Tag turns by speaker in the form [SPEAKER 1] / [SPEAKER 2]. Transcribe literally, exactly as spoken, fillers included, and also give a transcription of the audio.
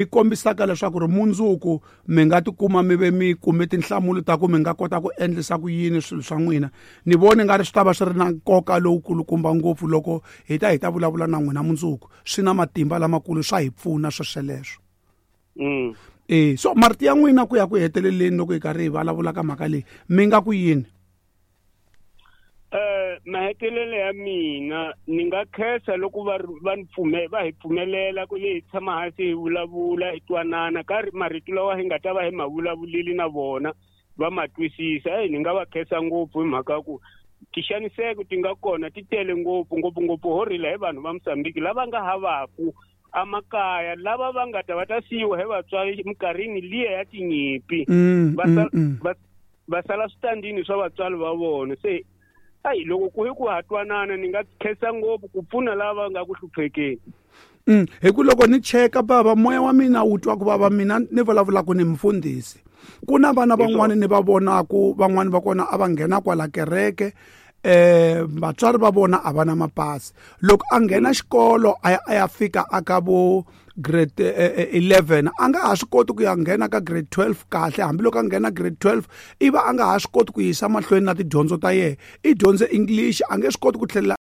[SPEAKER 1] Yi kombisaka leswaku ri mundzuku mi nga tikuma mi ve mi kume tinhlamulo ta ku mi nga kota ku endlisa ku yini swilo swa n'wina. Ni voni nga ri swi ta va swi ri na nkoka lowukulukumba ngopfu loko hi ta hi ta vulavula na n'wina mundzuku. Swi na matimba lamakulu, swa hi pfuna swosweleswo.
[SPEAKER 2] Mm.
[SPEAKER 1] E so marito ya n'wina ku ya ku heteleleni loko hi karhi hi vulavula ka mhaka leyi, mi nga ku yini?
[SPEAKER 2] Eh mahetelelo ya mina, ni nga khensa loko va va ni pfume va hi pfumelela ku hi tshama hansi hi vulavula, hi twanana ka marito lawa hi nga ta va hi ma vulavulile na vona va ma twisisa. Eyi, ni nga va khensa ngopfu hi mhaka ya ku tixaniseko ti nga kona ti tele ngopfu, ngopfungopfu ho rila hi vanhu va Mozambique lava nga havaku amakaya, lava va nga ta va ta siyiwa hi vatswari minkarhini liya ya tinyimpi,
[SPEAKER 1] Mm,
[SPEAKER 2] va
[SPEAKER 1] mm,
[SPEAKER 2] sala
[SPEAKER 1] mm.
[SPEAKER 2] va va sala switandini swa vatswari va vona. Se ayi, loko ku hi ku ha twanana, ni nga khensa ngopfu ku pfuna lava nga ku hluphekeni.
[SPEAKER 1] Mm, hi ku loko ni cheka, bava, moya wa mina wu twa ku vava. Mina ni vulavulaka ni mfundhisi, ku na vana van'wani ni va vonaku, van'wani va kona a va nghena kwala kereke, eh vatswari va vona a va na mapasi. Loko a nghena xikolo a ya a ya fika aka vo grade eh, eleven, a nga ha swi koti ku ya nghena ka grade twelve kahle. Hambiloko a nghena grade twelve, i va a nga ha swi koti ku yisa mahlweni na tidyondzo ta yena. I dyondze English, a nge swi koti ku tlhelela.